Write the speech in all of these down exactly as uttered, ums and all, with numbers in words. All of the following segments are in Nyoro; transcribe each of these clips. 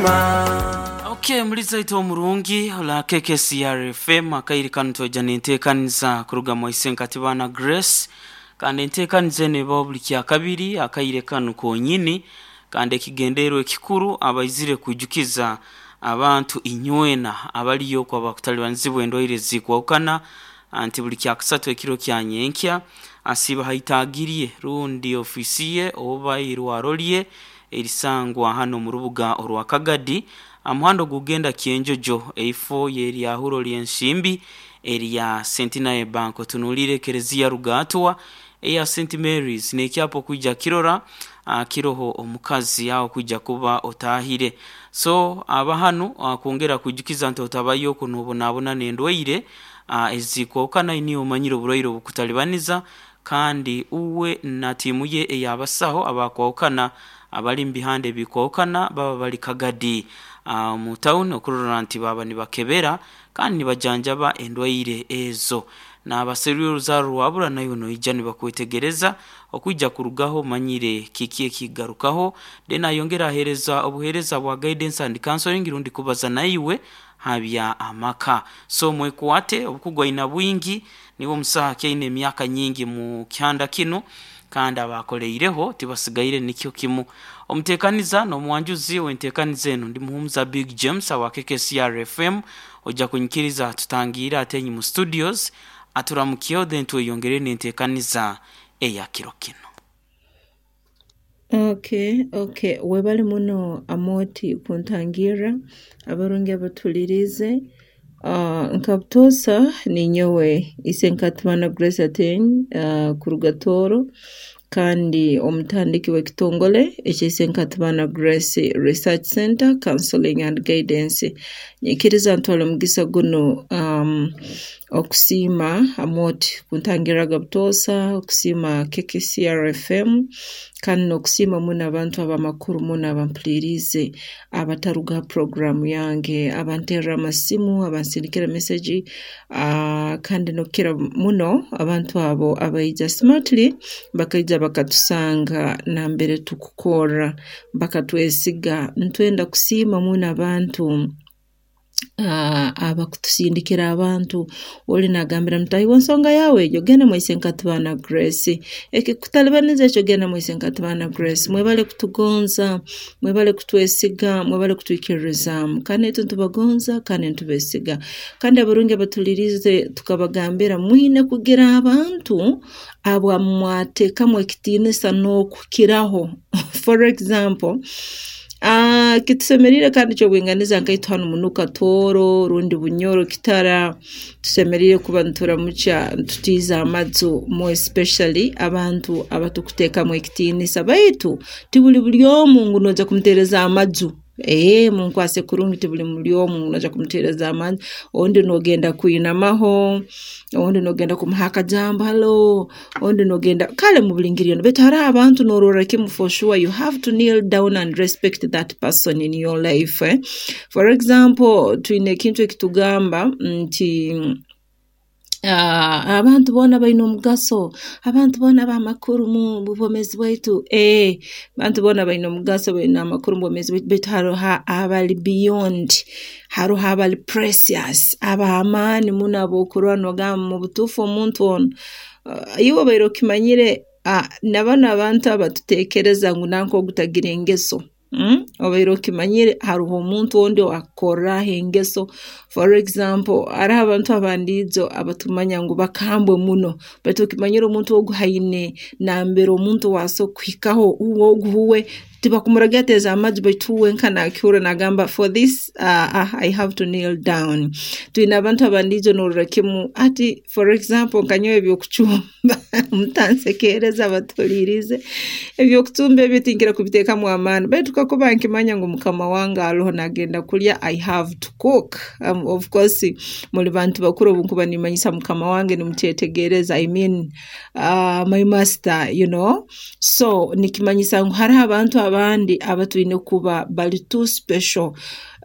Okay, muliza ito omurungi ola K K C R F M. Akairi kanu tweja nenteekaniza kuruga mu Katibana Grace, kandi enteekaniza eno ebaho buli kyakabiri akaire kanu konyini, kandi ekigendererwa ekikuru abaizire kwijukiza abantu inywena abaliyo okwo bakutalibanizibwa endwaire zikwahukana nti buli kyakusatu ekiro kya nyenkya asiiba haitagirye rundi ofiisi ye oba irwaro lye erisangwa hano mu rubuga orwa Kagadi, amuhanda ogugenda Kyenjojo, eifo yeryahuro ly'ensimbi erya Centenary Bank, otunuulire ekereziya Rugatwa eya Saint Mary's n'ekyapa okwija kirora uh, kiroho omukazi aho kwija kuba otahire. So aba hanu uh, kwongera kwijukiza nti otabayo okwo nobonabona n'endwaire uh, ezikwahukana, niyo omanyire oburwaire obukutalibaniza, kandi uwe na tiimu ye ey'abasaho abakwahukana abali mu bihanda ebikwahukana baba bali Kagadi uh, mu tawuni okurora nti baba nibakebera kandi nibajanjaba endwaire ezo. N'abaserwire oruzaaro rwabura, naiwe noija nibakwetegereza okwija kurugaho omanyire kiki ekigarukaho. Then ayongera aheereza obuheereza bwa guidance and counseling rundi kubaza naiwe habya amaka. So mwekwate, obukugu aina bwingi, niwe omusaho akyaine emyaka nyingi mu kihanda kinu, kandi abakoleireho tibasigaire nikyo kimu. Omuteekaniza n'omwanjuzi w'enteekaniza eno ndi Muhumuza Big James awa K K C R F M. Ojja kunyikiriza tutangiire atenyi mu studios aturamukyeho, then tweyongere n'enteekaniza eya kiro kino. Okay, okay. Webale muno Amoti kuntangirra. Abarungi abatulirize. Uh, nka butoosa ninyowe Isenkatibana Grace Ateny uh, kuruga Tooro, kandi omutandiki w'ekitongole ekya Isenkatibana Grace Research Center, Counseling and Guidance. Nyikiriza ntwale omugisa gunu um, okusiima Amoti kuntangirraga butoosa, okusiima K K C R F M, kandi n'okusiima muno abantu ab'amakuru muno abampuliriize, abataruga ha puroguraamu yange, abanterra amasimu, abansindikira message, uh, kandi n'okukira muno abantu abo abaija smartly bakaija bakatusanga nambere tukukorra, bakatwesiga. Ntwenda kusiima muno abantu uh, abakutusindikira abantu. Oli nagambira mutaahi we, "Ensonga yawe egyo, genda mu Isenkatibana Grace, ekikutalibaniza ekyo, genda mu Isenkatibana Grace." Mwebale kutugonza, mwebale kutwesiga, mwebale kutwikiririzaamu, kandi naitwe nitubagonza kandi nitubesiga. Kandi abarungi abatuliriize, tukabagambira mwine kugira abantu abamwateekamu ekitiinisa n'okukiraho. For example, uh, kitusemeriire kandi ky'obwinganiza nkaitwe hanu munuka Tooro rundi Bunyoro Kitara, tusemeriire kuba nituramukya, ntutiiza amaju, more especially abantu abatukuteekamu ekitiinisa, baitu tibuli buli omu ngu noija kumuteereza amaju. Ee, munkwase kurungi, tibuli buli omu ngu noija kumuteereza amaju. Ondi noogenda kwinamaho, ondi noogenda kumuha akajambo, "Hello," ondi noogenda kale mu buli ngeri yoona, baitu haroho abantu noororra kimu, for sure you have to kneel down and respect that person in your life, eh? For example, twine ekintu ekitugamba nti uh, abantu boona baine omugaso, abantu boona b'amakuru mu bwomeezi bwaitu. Ee, abantu boona baine omugaso, baine amakuru mu bwomeezi bwaitu, baitu haroho abali beyond, haroho abali precious, ab'amaani muno, ab'okurora noogamba mu butuufu omuntu onu, uh, iwe obaire okimanyire, uh, na banu abantu abatuteekereza ngu nanka ogu tagira engeso, mm? Obaire okimanyire haroho omuntu ondi owakukorraho engeso? For example, haroho abantu abandiijo abatumanya ngu bakambwe muno, baitu okimanyire omuntu ogu haine nambere omuntu ow'asobora kuhikaho, uwe ogu uwe tibakumuragira ateeze amaju, baitu uwe nka nakihurra nagamba, "For this uh, I have to kneel down." Twine abantu abandiijo norora kimu ati, for example, nka nyowe ebyokucumba, mutansekereza abatuhuliirize, ebyokucumba ebyo tinkira kubiteekamu amaani, baitu kakuba nkimanya ngu mukama wange aroho nagenda kulya, I have to cook. um, of course muli bantu bakuru, obu nkuba nimanyisa mukama wange nimukyetegereza, I mean uh, my master you know So nikimanyisa ngu hariho abantu abandi abatwine kuba bali too special.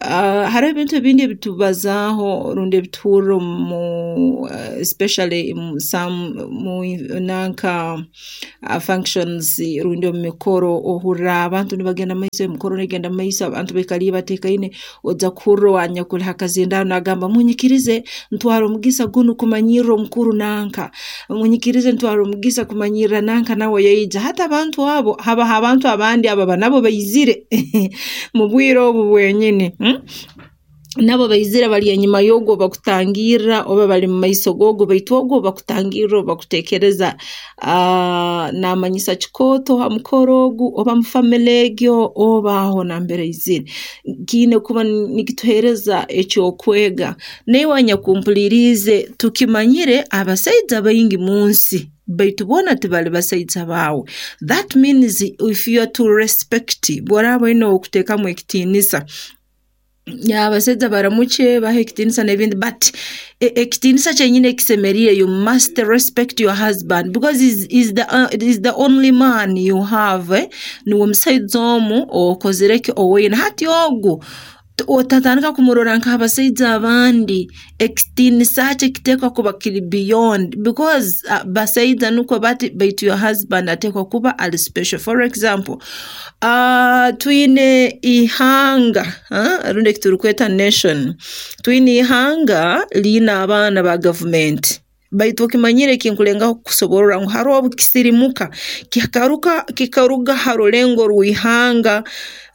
Uh, hariho ebintu ebindi ebitubazaaho rundi ebituhurra mu uh, especially mu some mu nanka uh, functions rundi omu mikoro, ohurra abantu nibagenda mumaiso, emikoro negenda mumaiso, abantu baikaliire bateekaine, ojja kuhurra owanyakuli ha kazindaaro nagamba munyikirize ntware omugisa gunu kumanyirra omukuru nanka, munyikirize ntware omugisa kumanyirra nanka nawe yaija. Hati abantu abo habaho abantu abandi ababa nabo baizire mu bwire obu bwenyini, hmm? Nabo baizire bali enyuma y'ogu bakutangirra oba bali mu maiso g'ogu, baitu ogu bakutangirra obu bakuteekereza uh, naamanyisa kikooto ha mukoro ogu oba mu family egyo oba aho nambere aizire. Kiine kuba nikituheereza ekyokwega. Naiwe anyakumpuliriize, tukimanyire abasaija baingi mu nsi, baitu boona tibali basaija baawe. That means if you are to respect, bw'oraaba oine ow'okuteekamu ekitiinisa, abasaija baramukye bahe ekitiinisa n'ebindi, but ekitiinisa kyenyini ekisemeriire, you must respect your husband because he's, he's the, uh, he's the only man you have, eh? Niwe musaija omu okozire ki owoine. Hati ogu otatandika kumurora nk'abasaija abandi, ekitiinisa kye kiteekwa kuba kiri beyond because uh, basaija nukwo bati, baitu your husband ateekwa kuba ali special. For example, uh, twine ihanga, uh, rundi eki turukweta nation, twine ihanga liine abaana ba gavumenti, baitu okimanyire ekinkulengaho kukusoborra ngu haroho obu kisirimuka kikaruka kikaruga ha rulengo rw'ihanga.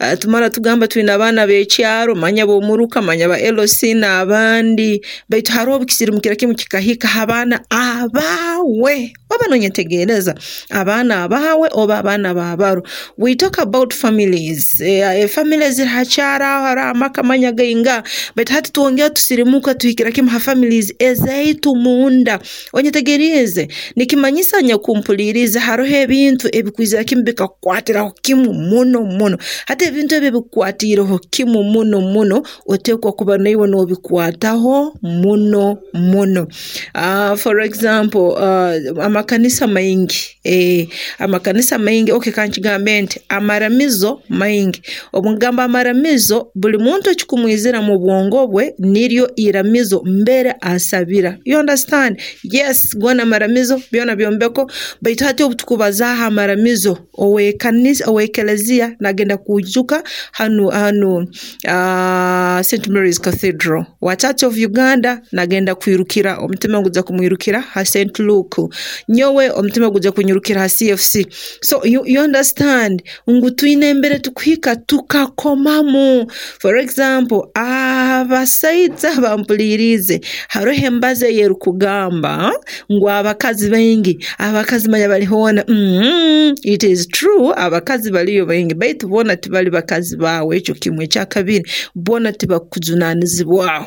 Uh, tumara tugamba twine abaana b'ekyaro, manya b'omuruka, manya ba L C n'abandi, baitu haroho obu kisirimukira kimu kikahika ha baana abaawe. Oba nonyetegereza, abaana abaawe oba abaana b'abaro. We talk about families, eh, families ziri ha kyaro aho hariho amaka manya gainga, baitu hati twongera tusirimuka tuhikira kimu ha families ezaitu munda. Onyetegeriize, nikimanyisa nyakumpuliriize haroho ebintu ebikwizira kimu bikakukwatiraho kimu muno muno. Hati ebintu ebi ebikukwatiireho kimu muno muno, oteekwa kuba naiwe noobikwataho muno muno. Uh, for example, uh, amakanisa maingi, eh, amakanisa maingi, okay, kankigambe nti amaramizo maingi. Obu ngamba amaramizo, buli muntu ekikumwizira mu bwongo bwe niryo iramizo mbere asabira. You understand? Yes, goona amaramizo byona byombeko, baitu hati obu tukubazaaho amaramizo, ow'ekanisa ow'ekeleziya nagenda kwijuka hanu hanu uh, Saint Mary's Cathedral. Wa Church of Uganda nagenda kwirukira, omutima gujja kumwirukira ha Saint Luke. Nyowe omutima gujja kunyirukira ha C F C. So you, you understand ngu twine embere tukuhika tukakomamu. For example, abasaija bampuliriize, haroho embazo eyerukugamba ngu abakazi baingi, abakazi manya bali hoona. mm -hmm. It is true, abakazi baliyo baingi, baitu boona tibali bakazi baawe. Ekyo kimwe. Ekyakabiri, boona tibakujunanizibwaho,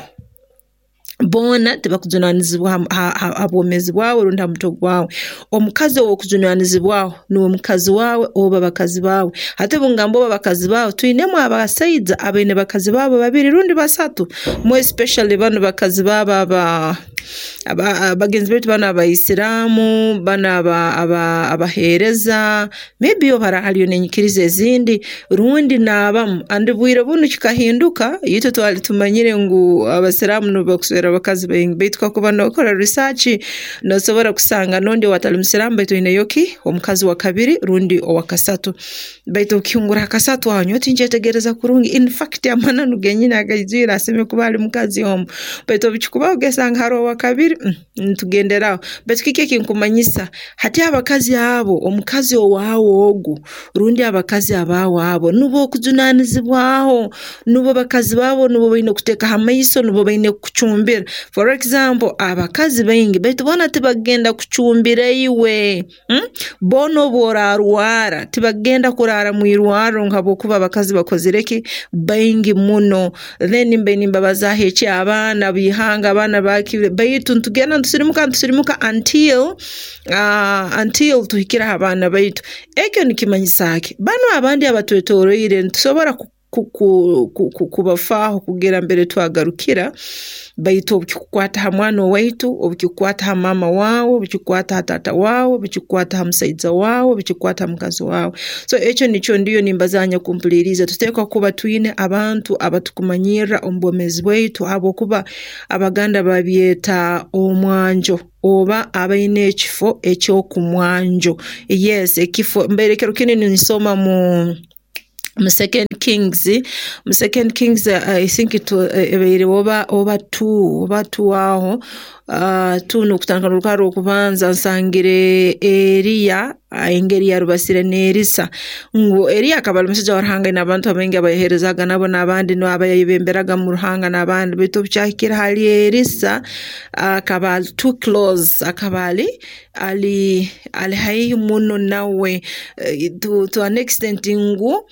boona tibakujunanizibwa ha, ha, ha bwomeezi bwawe rundi ha mutwe gwawe. Omukazi ow'okujunanizibwaho nuwe mukazi wawe oba bakazi baawe. Hati obu ngamba oba bakazi baawe, twinemu abasaija abaine bakazi baabo babiri rundi basatu, more especially banu bakazi baabo aba bagenzi baitu banu abaisiraamu, banu aba aba abaheereza, maybe oba hariyo n'enyikiriza ezindi rundi n'abamu. Andi bwire bunu kikahinduka, itwe twali tumanyire ngu abasiraamu nubo bakuswera abakazi baingi, baitu kakuba nookora research noosobora kusanga n'ondi owatali musiraamu baitu oineyo ki omukazi wa kabiri rundi owa kasatu. Baitu okihungura ha kasatu aho nyowe tinkyetegereza kurungi. In fact, amananu genyini agaijwire asemeriire kuba ali mukazi omu, baitu obu kikubaho ogesanga haroho owa kabiri, mm, nitugenderaho. Baitu kiki ekinkumanyisa hati, abakazi abo, omukazi owaawe ogu rundi abakazi abaawe abo nubo okujunanizibwaho, nubo bakazi baabo, nubo baine kuteeka ha maiso, nubo baine kukucumbira. For example, abakazi baingi, baitu boona tibagenda kucumbira iwe, hmm? Boona obu oraarwara tibagenda kuraara mu irwarro habwokuba abakazi bakozire ki baingi muno. Then mbe nimbabazaaho eky'abaana b'ihanga, abaana baki, baitu nitugenda nitusirimuka nitusirimuka until uh, until tuhikire ha baana baitu. Ekyo nikimanyisa ki, banu abandi abatwetoroire nitusobora kubafaaho kugira mbere twagarukira, baitu obu kikukwata ha mwana owaitu, obu kikukwata ha maama waawe, obu kikukwata ha taata waawe, obu kikukwata ha musaija waawe, obu kikukwata ha mukazi waawe. So ekyo nikyo ndiyo nimbaza nyakumpuliriize, tuteekwa kuba twine abantu abatukumanyirra omu bwomeezi bwaitu habwokuba Abaganda babyeta omwanjo oba abaine ekifo eky'okumwanjo. Yes, ekifo mbaire kiro kinu ninsoma mu mu Second Kings, mu Second Kings I think it ebaire oba oba two oba two aho, uh, two n'okutandika n'orukarra rw'okubanza nsangire Eriya engeri yarubasire n'Erisa, ngu Eriya akaba ali musaija wa Ruhanga aine abantu abaingi abayaheerezaaga nabo n'abandi nubo abayebemberaga mu Ruhanga n'abandi, baitu obu kyahikire hali Erisa akaba ali too close, akaba ali ali ali haihi muno nawe to, to an extent ngu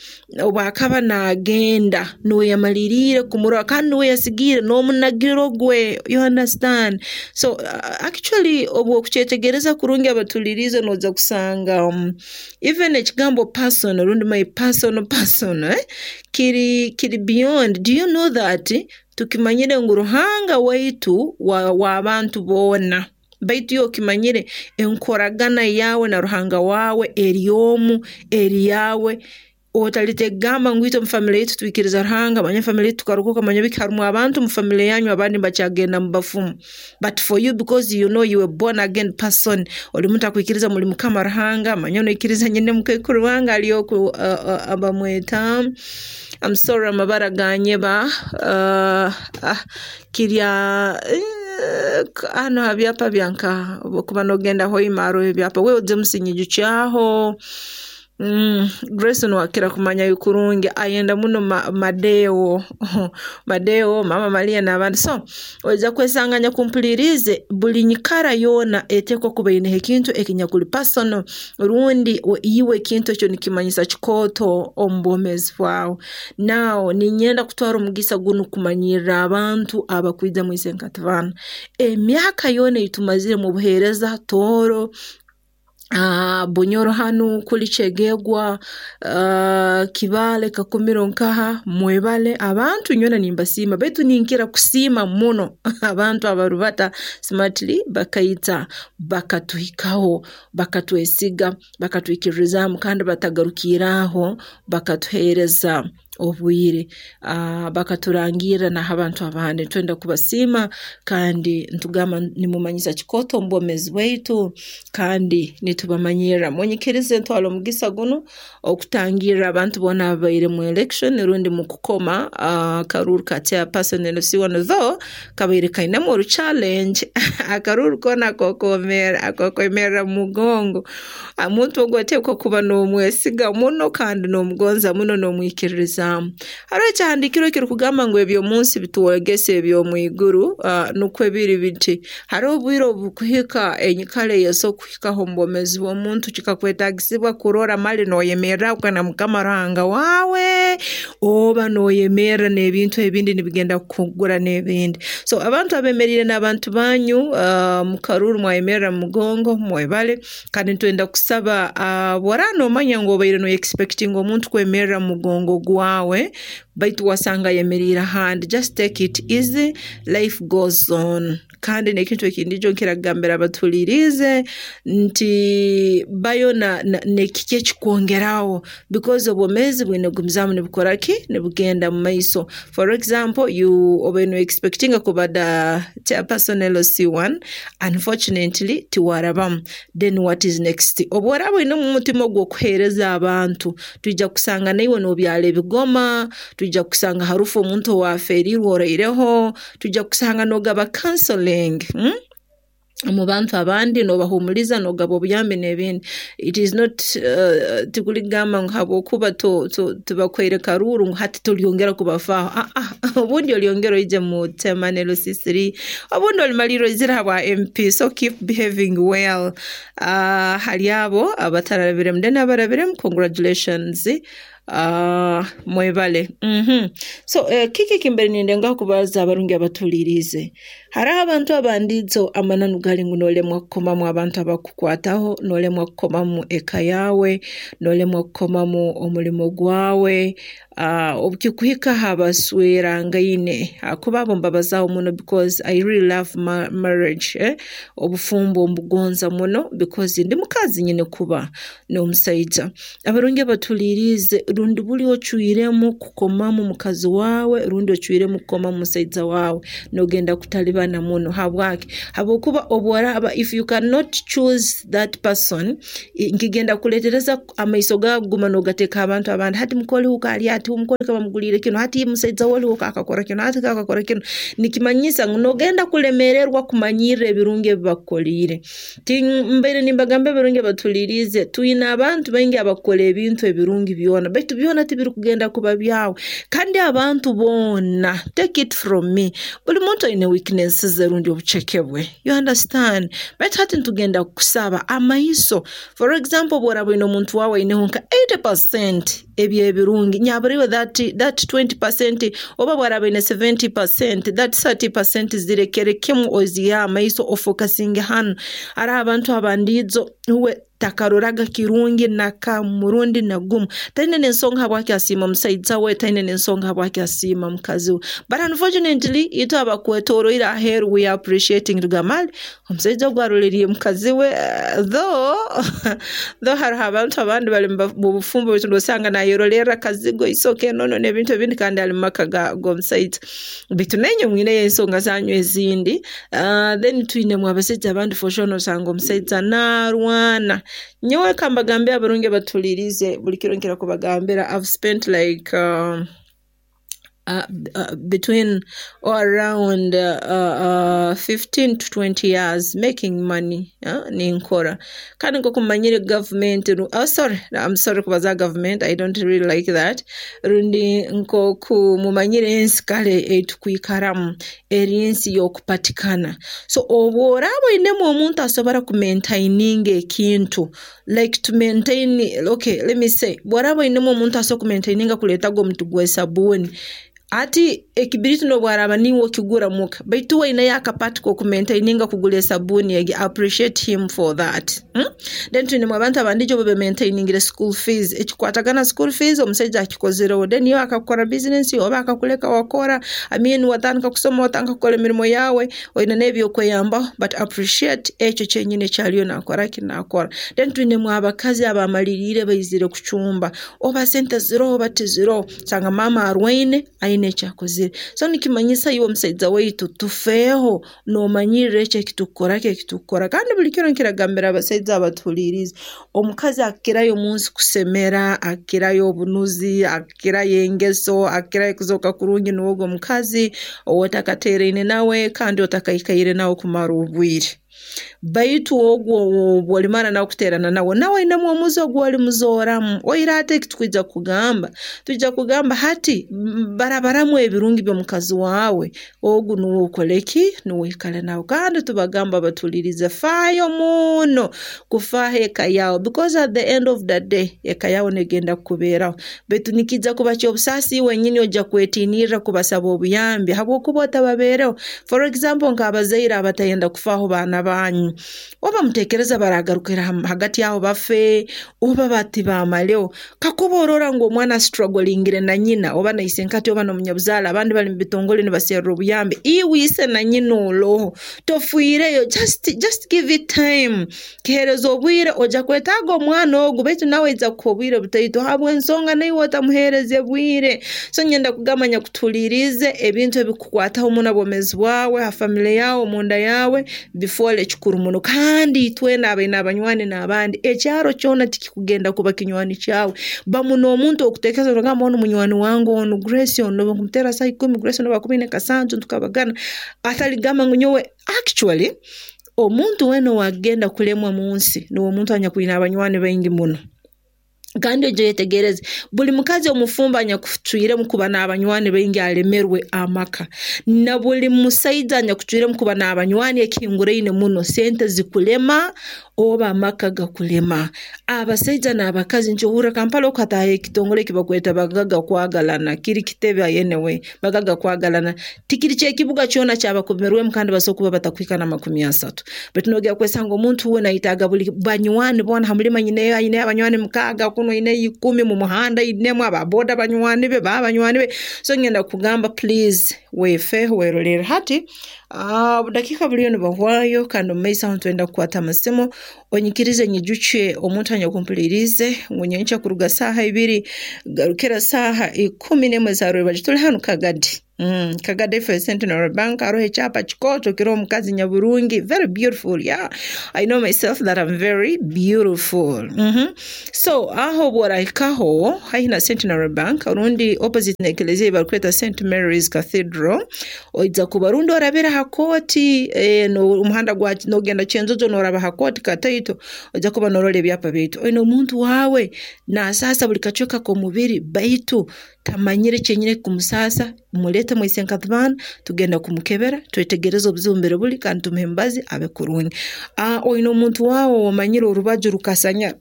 obu akaba naagenda nuwe yamaliriire kumurora kandi nuwe yasigiire n'omunagiro gwe, you understand. So uh, actually obu okukyetegereza kurungi abatuliriize noija kusanga um, even ekigambo person rundi my personal person eh, kiri kiri beyond. Do you know that tukimanyire ngu Ruhanga waitu w'abantu boona, baitu iwe okimanyire enkoragana yaawe na Ruhanga waawe eri omu, eri yaawe. Otalitegamba ngu itwe mu family yaitu twikiriza Ruhanga, manya family yaitu tukarokoka, manya biki, harumu abantu mu family yanyu abandi nibakyagenda mu bafumu. But for you because you know you a born again person, oli muntu akwikiriza muli Mukama Ruhanga, manya noikiriza nyine mukaikuru wange ali oku uh, uh, bamweta, I'm sorry amabara ganyeba, uh, uh, kirya hano ha byapa byanka okuba nogenda Hoima haroho ebyapa, wewe oze musinyijukyaho. Mm, Grace niwakira kumanya kurungi ayenda muno ma, Madeo Madeo, Mama Maria n'abandi. So oija kwesanga nyakumpuliriize buli nyikara yoona eteekwa kuba eineho ekintu ekinyakuli personal rundi iwe ekintu ekyo nikimanyisa kikooto omu bwomeezi bwawe. Now niinyenda kutwara omugisa gunu kumanyirra abantu abakwija mu Isenkati-Baana. Emyaka yoona ei tumazire mu buheereza Tooro, uh, Bunyoro hanu kuli Kyegegwa, uh, Kibaale, Kakumiro nkaha, mwebale abantu nyowe nimbasiima, baitu ninkira kusiima muno abantu abarubata smartly bakaija bakatuhikaho, bakatwesiga, bakatwikiririzaamu kandi batagarukiire aho bakatuheereza obwire, uh, bakaturangirra n'abantu abandi. Nitwenda kubasiima kandi nitugamba nimumanyisa kikooto omu bwomeezi bwaitu kandi nitubamanyirra. Munyikirize ntwale omugisa gunu okutangirra abantu boona ababaire mu election rundi mu kukoma akaruuru ka chairperson L C one, though kabaire kainemu oru challenge akaruuru koona akokwemerra mu mugongo, omuntu ogu oteekwa kuba n'omwesiga muno kandi n'omugonza muno n'omwikiririzaamu. Haroho ekyahandiikirwe ekirukugamba ngu eby'omunsi bitwegesa eby'omu iguru, uh, nukwo biri biti. Haroho obwire obukuhika enyikara eyesobora kuhikaho omu bwomeezi bw'omuntu kikakwetaagisibwa kurora mali nooyemerra na Mukama Ruhanga waawe oba nooyemerra n'ebintu ebindi nibigenda kukugura n'ebindi. So abantu abemeriire n'abantu banyu uh, mu karuuru mwayemerra mu mugongo mwebale, kandi nitwenda kusaba uh, bw'oraaba noomanya ngu obaire noyexpectinga omuntu kwemerra mu mugongo gwawe baitu wasanga ayemeriire ahandi, just take it easy, life goes on. Kandi n'ekintu ekindi nikyo nkira kugambira abatuhuliriize nti bayo nekiki ekikwongeraho because obwomeezi bwine kugumizaamu nibukora ki, nibugenda mu maiso. For example, you obaire noexpectinga kuba the chairperson L C one, unfortunately tiwarabamu, then what is next? Obu oraaba oine omutima ogw'okuheereza abantu, twija kusanga naiwe noobyara ebigoma, twija kusanga harufu omuntu owaferiirwe oraireho, twija kusanga noogaba counseling, hmm? Omu bantu abandi noobahumuliza noogaba obuyambi n'ebindi. It is not uh, tikuligamba ngu habwokuba tibakuhaire karuuru ngu hati tolyongera kubafaaho, ah ah, obundi olyongera oije mu chairman L C three, obundi olimalirra oizire habwa M P, so keep behaving well. Uh, hali abo abatarabiremu then abarabiremu, congratulations. Uh, mwebale. Mm -hmm. So uh, kiki kimbere nindengaho kubaza abarungi abatuliriize. Hariho abantu abandiizo amananu gali ngu noolemwa kukomamu abantu abakukwataho, noolemwa kukomamu eka yaawe, noolemwa kukomamu omulimo gwawe, uh, obukikuhika habaswerangaine, hakuba abo mbabazaaho muno because I really love ma marriage, eh? Obufumbo mbugonza muno because ndi mukazi nyine kuba n'omusaija. Abarungi abatuliirize, rundi buli ocwiremu kukomamu mukazi waawe rundi ocwiremu kukomamu musaija waawe, nogenda kutalibana muno. Habwaki? Habwokuba obworaaba, if you cannot choose that person, nkigenda kuleetereza amaiso gaawe kuguma nogateeka abantu abandi. Hati mukoli huka ali ati, omukoli bamuguliire kinu, hati musaija we huka akakora kinu, hati akakora kinu. Nikimanyisa ngu nogenda kulemererwa kumanyirra ebirungi ebi bakukoliire. Mbaire nimbagamba ebirungi abatuliirize, twine abantu baingi abakukora ebintu ebirungi byona, baitu byona tibirukugenda kuba byawe. Kandi abantu boona, take it from me, buli muntu aine weaknesses ze rundi obuceke bwe, you understand? Baitu hati nitugenda kukusaba amaiso. For example, obworaaba oine omuntu waawe aineho nka eighty percent ebyebirungi, nyabura that, that twenty percent, oba bwaraaba aine seventy percent, that thirty percent zirekere kimu ozihe amaiso ofokasinge hanu. Hariho abantu abandiijo uwe takaroraga kirungi naka murundi na gumu, taine n'ensonga habwaki asiima musaija we, taine n'ensonga habwaki asiima mukazi we. But unfortunately itwe abakwetoroire aheeru we are appreciating, tugamba omusaija ogu aroleriire mukazi we, uh, though though hariho abantu abandi bali mu bufumbo baitu nosanga nayerolerra kazigo, isoke, enono n'ebintu ebindi kandi ali mu maka g'omusaija. Baitu nainywe mwineyo ensonga zanyu ezindi. Uh, then twinemu abasaija abandi for sure nosanga omusaija naarwana. Nyowe kambagambire abarungi abatuliirize, buli kiro nkira kubagambira, I've spent like um, uh, uh, between or around uh, uh, fifteen to twenty years making money, uh, ninkora. Kandi nkoku mumanyire government, oh sorry, I'm sorry kubaza government, I don't really like that. Rundi nkoku mumanyire ensi kale etukwikaramu eri ensi y'okupatikana. So obworaaba oinemu omuntu asobora kumaintaininga ekintu, like to maintain, okay, let me say, bw'oraaba oinemu omuntu asobora kumaintaininga kuleetaga omuti gw'esabuuni, ati ekibiriti n'obwaraaba niiwe okigura muka, baitu we aineyo akapati k'okumaintaininga kugura esabuuni egi, appreciate him for that. Hmm? Then twinemu abantu abandijo obu bemaintainingire school fees, ekikwatagana school fees omusaija akikozireho, then iwe akakora business oba akakuleka wakora, I mean watandika kusoma, watandika kukora emirimo yawe, oine n'ebyokweyambaho, but appreciate ekyo kyenyini ekyaliyo nakora ki nakora. Then twinemu abakazi abamaliriire baizire kucumba, oba sente ziroho oba tiziroho, sanga maama arwaine aine ekyakozire. So nikimanyisa iwe omusaija waitu tufeeho noomanyirra ekyo ekitukukora ki ekitukukora. Kandi buli kiro nkiragambira abasaija abatuhuliirize, omukazi akirayo omunsi kusemera, akirayo obunuzi, akirayo engeso, akirayo kuzooka kurungi nuwe ogu omukazi ow'otakateeraine nawe kandi otakaikaire nawe kumara obwire. Baitu ogwo obu olimara nawe kuteerana nawe, nawe ainemu omuze ogu olimuzooramu. Oire ati eki tukwija kugamba, twija kugamba hati barabaramu ebirungi by'omukazi waawe, ogu nuwe okole ki, nuwe oikale nawe. Kandi tubagamba batuliirize, faayo muno kufaaho eka yaawe because at the end of the day eka yaawe negenda kukubeeraho. Baitu nikiija kuba ky'obusaasi iwe wenyini ojja kwetiinirra kubasaba obuyambi habwokuba otababeereho. For example, nk'abazaire abatayenda kufaaho baana banyu, oba muteekereza baragarukira hagati aho bafe oba bati bamaleho. Kakuba orora ngu omwana astrugglingire na nyina oba na isenkati oba n'omunyabuzaale, abandi bali mu bitongole nibaserra obuyambi, iwe ise na nyina oloho, tofiireyo, just, just give it time. Kiheereza obwire, ojja kwetaaga omwana ogu, baitu nawe aija kukuha obwire butaito habw'ensonga naiwe otamuheereze bwire. So nyenda kugamba nyakutuhuliirize, ebintu ebikukwataho muno obwomeezi bwawe, ha family yawe, omunda yawe, bifoole kikuru muno. Kandi itwena abaine abanywani n'abandi, ekyaro kyona tikikugenda kuba kinywani kyawe. Bamu n'omuntu okuteekereza nogamba onu munywani wange onu Grace onu obu nkumuteera saaha ikumi, Grace onu obu akumi kasanju tukabagana, ataligamba ngu nyowe actually omuntu weena ow'agenda kulemwa munsi nuwe omuntu anyakwine abanywani baingi muno. Kandi oije oyetegereze, buli mukazi omufumbo anyakucwiremu kuba n'abanywani baingi alemerwe amaka, na buli musaija anyakucwiremu kuba n'abanywani ekihinguraine muno, sente zikulema oba amaka gakulema. Abasaija n'abakazi nkyehurra Kampala oku hataaha ekitongole eki bakweta bagaga kwagalana, kiri kitebe anyway, bagaga kwagalana. Tikiri ky'ekibuga kyona kyabakomerwemu kandi basobora kuba batakuhika na makumi asatu. Baitu nogenda kwesanga omuntu we naayetaaga buli banywani boona ha mulimo aineyo aineyo abanywani mukaaga, kunu aine ikumi, mu muhanda ainemu, aba boda banywani be, ba banywani be. So ngenda kugamba please weefeho, weerolerre. Hati obudakiika buliyo nibuhwayo kandi mumaiso aho nitwenda kukwata amasimu, onyikirize nyijukye omuntu anyakumpuliriize ngu nyenkya kuruga saaha ibiri kugarukira saaha ikumi n'emu eza tuli hanu Kagadi. Mm, Kagadi F Centenary Bank haroho ekyapa kikooto kiroho omukazi nyaburungi, very beautiful. Yeah, I know myself that I'm very beautiful. mm -hmm. So aho obworahikaho haihi na Centenary Bank rundi opposite n'ekelezia ei barukweta Saint Mary's Cathedral, oija kuba rundi orabire ha kooti, eh, omuhanda gwa nogenda Kyenjojo noraba ha kooti kataito, oija kuba norora ebyapa byaitu. Oine omuntu waawe naasaasa buli kacweka k'omubiri baitu tamanyire kyenyini ekikumusaasa, muleete mwisenkatibana, tugenda kumukebera twetegereze obuzibu mbere buli kandi tumuhe emibazi abe kurungi. Oine omuntu waawe ow'omanyire orubaju rukasanya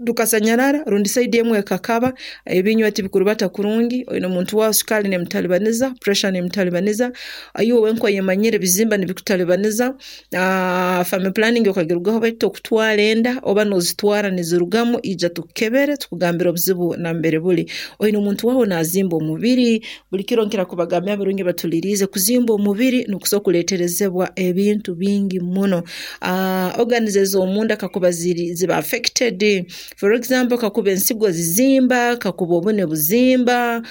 rukasanyarara rundi side emu ekakaba, ebinywa tibikurubata kurungi, oine omuntu waawe sukaali neemutalibaniza, pressure neemutalibaniza, iwe wenka oyemanyire ebizimba nibikutalibaniza, family planning okagirugaho baitu tokutwara enda oba noozitwara nizirugamu, ija tukukebere tukugambire obuzibu nambere buli. Oine omuntu waawe naazimba omubiri, buli kiro nkira kubagambira abarungi batuliriize, kuzimba omubiri nikusobora kuleeterezebwa ebintu bingi muno. Organs ez'omunda kakuba ziri ziba affected, for example kakuba ensigo zizimba, kakuba obune buzimba,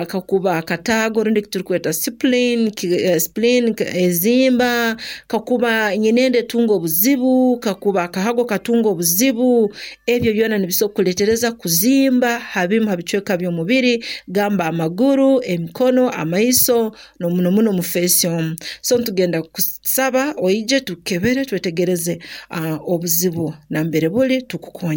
kakuba akataago rundi eki turukweta spleen, spleen ezimba, kakuba nyinenda etunga obuzibu, kakuba akahago katunga obuzibu, ebyo byona nibisobora kukuleetereza kuzimba ha bimu ha bicweka by'omubiri, gamba amaguru, emikono, amaiso, n'omuno muno mu face omu. So nitugenda kusaba oije tukukebere twetegereze obuzibu nambere buli tukukonyere.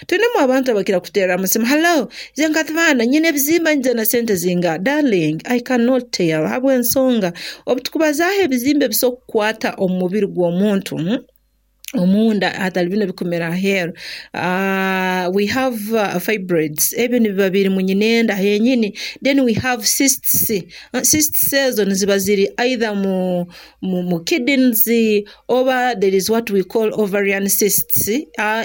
Twinemu abantu abakira kuteera amasimu, hello, Isenkatibana nyine ebizimba nyija na sente zingaha? Darling, I cannot tell habw'ensonga obu tukubazaaho ebizimba ebisobora kukwata omu mubiri gw'omuntu omunda hatali binu ebikumera aheeru, we have fibroids, ebi nibiba biri mu nyinenda henyini, then we have cysts, cysts ezo niziba ziri either mu, mu, mu kidneys oba there is what we call ovarian cysts,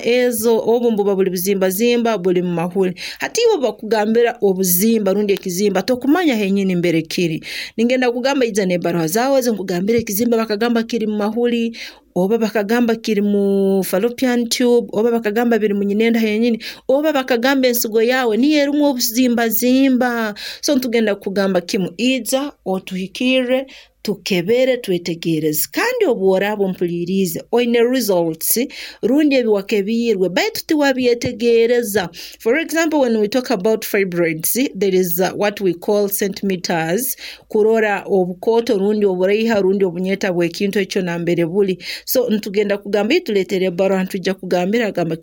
ezo obu mbuba buli buzimbazimba buli mu mahuli. Hati iwe bakugambira obuzimba rundi ekizimba tokumanya henyini mbere kiri. Ningenda kugamba ija n'ebaruha zaawe ezo nkugambire ekizimba bakagamba kiri mu mahuli, oba bakagamba kiri mu fallopian tube, oba bakagamba biri mu nyinenda henyini, oba bakagamba ensigo yaawe niyo erimu obuzimbazimba. So nitugenda kugamba kimu, ija otuhikirre tukebere twetegereze. Kandi obu oraaba ompuliriize oine results rundi ebi wakebiirwe baitu tiwabyetegereza. For example, when we talk about fibroids, there is uh, what we call centimeters, kurora obukooto rundi oburaiha rundi obunyeta bw'ekintu ekyo nambere buli. So nitugenda kugamba tuleetere ebbaruha nitujja kugambira gamba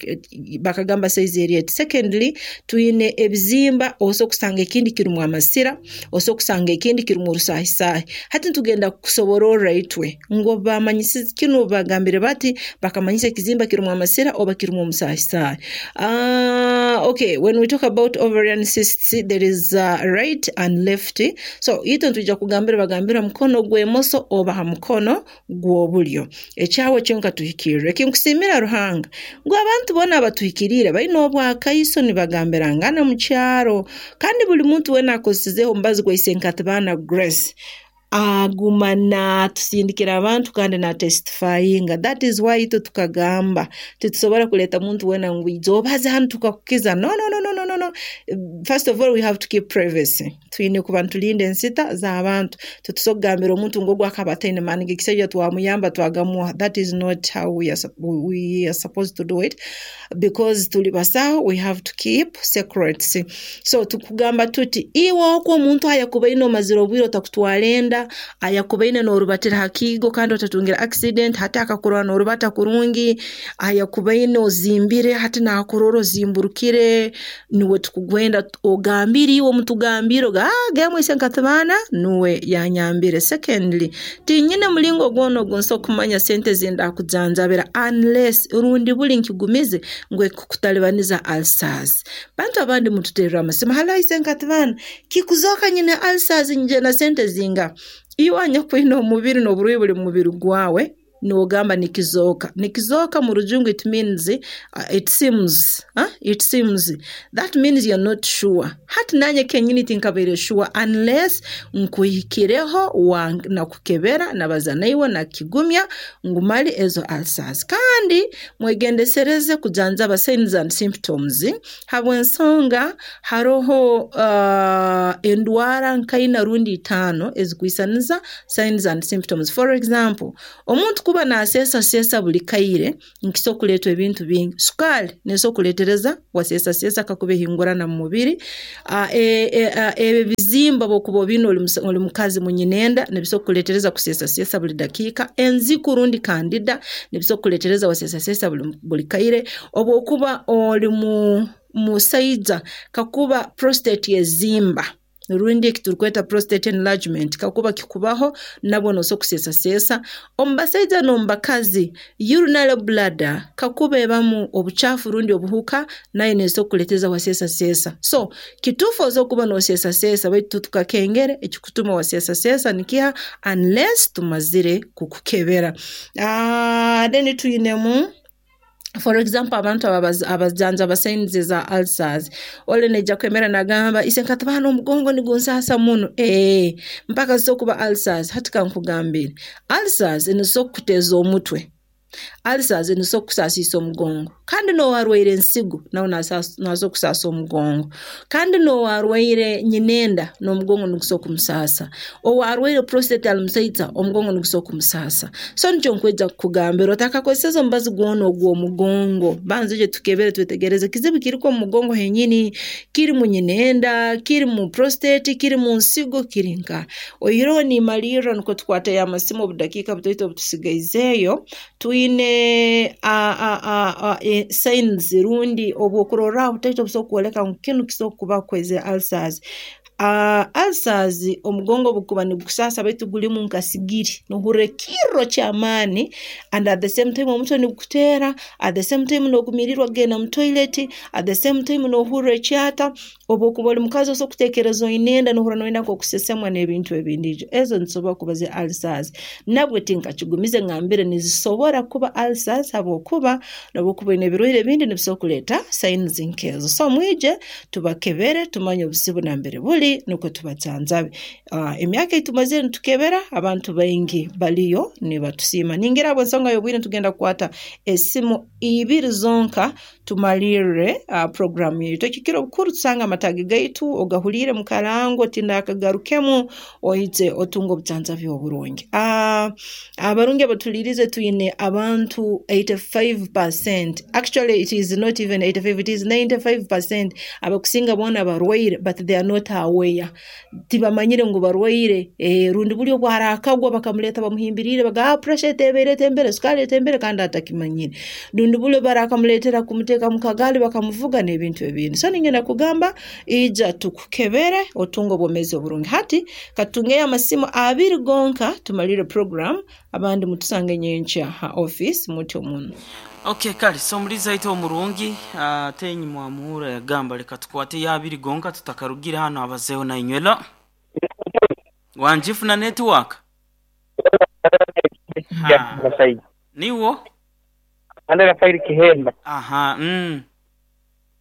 bakagamba size eri eti. Secondly, twine ebizimba osobola kusanga ekindi kirumu amasira, osobola kusanga ekindi kirumu orusaahisaahi. Hati nitugenda kusobororra itwe ngu bamanyisize kinu bagambire bati bakamanyisa ekizimba kirumu amasira oba kirumu omusaahisaahi. Uh, okay, when we talk about ovarian cysts, there is uh, right and left. So itwe nitujja kugambira bagambira mukono gw'emoso oba ha mukono gw'obulyo. Ekyawe kyonka tuhikirre. Ekinkusiimira Ruhanga ngu abantu boona abatuhikiriire baine obwakaiso nibagambirangana mu kyaro, kandi buli muntu weena akozesizeho omubazi gwa Isenkatibana Grace aguma natusindikira abantu kandi natestifyinga. That is why itwe tukagamba titusobora kuleeta muntu weena ngu ija obaze hanu tukakukiza. No, no, no, no, no, no. First of all, we have to keep privacy. Twine kuba nitulinda ensita z'abantu. Titusobora kugambira omuntu ngu ogu akaba ataine maani g'ekisajja twamuyamba twagamuha. That is not how we are, we are supposed to do it, because tuli basaho, we have to keep secrets. So tukugamba tuti iwe okwo omuntu ayakubaine omazire obwire otakutwara enda, ayakubaine n'orubatira ha kiigo kandi otatungire accident, hati akakurora n'orubata kurungi, ayakubaine ozimbire hati naakurora ozimburukire, niwe tukugwenda ogambire iwe omutugambire oga ah gemu Isenkatibana nuwe yanyambire. Secondly, tinyine mulingo gwona ogu nsobola kumanya sente zindakujanjabira unless rundi buli nkigumize ngu ekukutalibaniza ulcers. Bantu abandi mututerera amasimu, hello Isenkatibana, kikuzoka nyine ulcers nje na sente zinga. Iwe anyakwine omubiri n'oburwaire buli mu mubiri gwawe, Nogamba nikizooka, nikizooka mu Rujungu it means uh, it seems, huh? It seems, that means you're not sure. Hati nanye kenyini tinkabaire sure unless nkuhikireho nakukebera, nabaza naiwe, nakigumya ngu mali ezo ulcers. Kandi mwegendesereze kujanjaba signs and symptoms, habw'ensonga haroho uh, endwara nkaina rundi itaano ezikwisaniza signs and symptoms. For example, omuntu kuba naseesa seesa buli kaire nkisobola kuleetwa ebintu bingi. Sukaali neesobola kuleetereza waseesaseesa kakuba ehingurana mu mubiri. uh, e, e, e, ebizimba bwokuba obiine oli mukazi munyinenda nibisobola kukuleetereza kuseesaseesa buli dakiika. Enziku rundi candida nibisobola kukuleetereza waseesaseesa buli, buli kaire. Obwokuba oli mu musaija, kakuba prostate ezimba rundi eki turukweta prostate enlargement, kakuba kikubaho nabwo nosobola kuseesaseesa. Omu basaija n'omu bakazi, urinary bladder kakuba ebamu obucaafu rundi obuhuka, nayo neesobola kukuleeteza waseesaseesa. So kituufu osobola kuba nooseesaseesa, baitu tukakengere ekikutuma waseesaseesa nikiha unless tumazire kukukebera. uh, then twinemu, for example, abantu abajanjaba signs za ulcers, ole naija kwemera nagamba, "Ise nkataba n'omugongo nigunsasa muno," ee mpaka zisobola kuba ulcers. Hati kankugambire, ulcers nizisobola kukuteeza omutwe, ulcers nizisobola kukusaasiisa omugongo, kandi n'owarwaire ensigo nawe nasobola kusaasa omugongo, kandi n'owarwaire nyinenda n'omugongo nigusobola kumusaasa, owarwaire prostate ali musaija omugongo nigusobola kumusaasa. So nikyo nkwija kukugambira, otakakozeseza omubazi gwona ogw'omugongo, banza ije tukebere, twetegereze kizibu kiriko omu mugongo henyini, kiri mu nyinenda, kiri mu prostate, kiri mu nsigo, kiri nka oihireho. Nimalirra nukwo tukwateyo amasimu obudakiika butoito obutusigaizeeyo. Twine signs rundi obwokurorraho butaito obusobola kwoleka ngu kinu kisobola kuba kweze ulcers. Uh, ulcers omugongo bukuba nigukusaasa baitu gulimu nka sigiri, nohurra ekirro ky'amaani, and at the same time omutwe nigukuteera, at the same time nogumirirwa kugenda mu toilet, at the same time nohurra ekyata. Obu okuba oli mukazi osobola kuteekereza oine enda, nohurra noyenda nk'okusesemwa n'ebintu ebindi. Ezo nizisobora kuba zi ulcers. Nabwe tinkakigumize ngambire nizisobora kuba ulcers, habwokuba nobwokuba oine ebirwaire ebindi nibisobora kuleeta signs nkezo. So mwije tubakebere, tumanye obuzibu nambere buli, nukwo tubajanjabe. uh, emyaka eitumazire nitukebera abantu baingi baliyo nibatusiima. Ningira habw'ensonga y'obwire nitugenda kukwata esimu ibiri zonka tumalirre uh, programu yaitu. Ekikiro obukuru tusanga amatagi gaitu ogahuliire mu karango tindakagarukemu, oije otunga obujanjabi oburungi. uh, abarungi abatulirize, twine abantu eighty-five percent, actually it is not even eighty-five, it is ninety-five percent, abakusinga boona barwaire but they are not aware, tibamanyire ngu barwaire. eh, rundi buli obwarakagwa bakamuleta bamuhimbirire, baga, "Pressure etebere etembere, sukali etembere," kandi atakimanyire. Rundi buli barakamuletera kumuteeka mu kagaali bakamuvuga n'ebintu ebindi. So ningenda kugamba, ija tukukebere otunga obwomeezi oburungi. Hati katungeyo amasimu abiri gonka tumalire program, abandi mutusange nyenkya ha office mutyo muno. Okay, kale, so omulizi aita omurungi ate enyuma wamuhura yagamba leka tukwate yabiri gonka tutakarugire hano abazeho nainywela wanjifuna network. Ha. Niwo. Ande Rafaeli Kihemba. Aha, mm.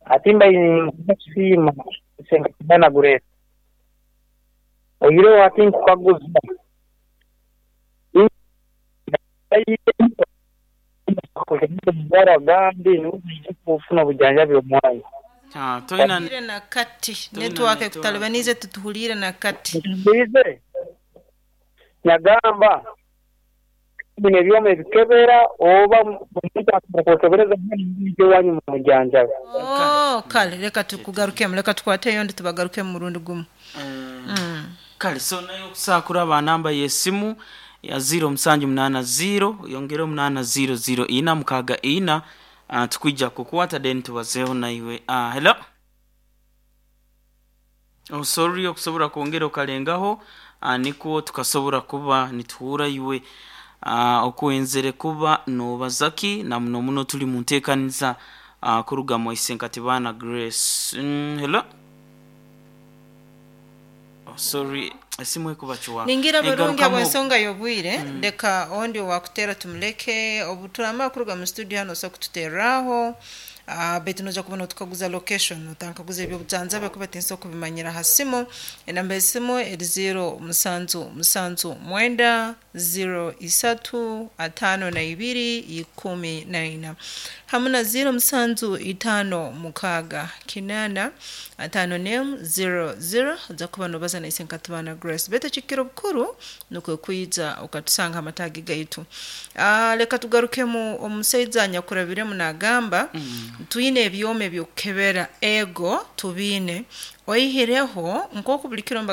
Atimba nkusiima senga kibana gureta oyireho ati nkukaguza gambi kufuna obujanjabi omwanya. Ah, toina Tuhuliire na kati. Toina network network. Ekutalibanize, tutuhuliire na kati. Mbize nyagamba bino ebyoma ebikebera oba omuntu akokebereza ewanyu mu mujanjabi. Oh, kale reka tukugarukemu, reka tukwateyo ndi tubagarukemu murundi gumu. Mm. Kale, so naye okusakura ba namba y'essimu ya zero musanju munaana zero yongere omunaana zero zero ina mukaaga ina, uh, tukwija kukwata then tubazeeho naiwe. uh, hello oh, sorry, okusobola kwongera okalengaho, uh, nikwo tukasobola kuba nituhura iwe uh, okwenzere kuba nobazaki na muno muno tuli mu nteekaniza uh, kuruga mu Isenkatibana Grace. mm, hello oh, sorry. Esimu ekubacuwa. Ningira barungi Egarukamu- abwensonga y'obwire, leka ondi owakutera tumuleke. Obu turamara kuruga mu studio hano osobola kututereraho. Uh, baitu noja kuba notukaguza location, otankaguza ebyobujanjabi kuba tinsobola kubimanyira ha simu. Enamba y'esimu eri zero musanju musanju mwenda zero isatu atano na ibiri ikumi na ina hamu na zero musanju itano mukaaga kinana atano nemu zero zero. Ojja kuba nobaza naise nkatubana Grace, baitu ekikiro bukuru nukwe kwija okatusanga amatagi gaitu. Ah, leka tugarukemu omusaija anyakurabiremu nagamba mm. Twine ebyoma ebyokukebera, ego tubiine, oihireho nk'oku buli kiro.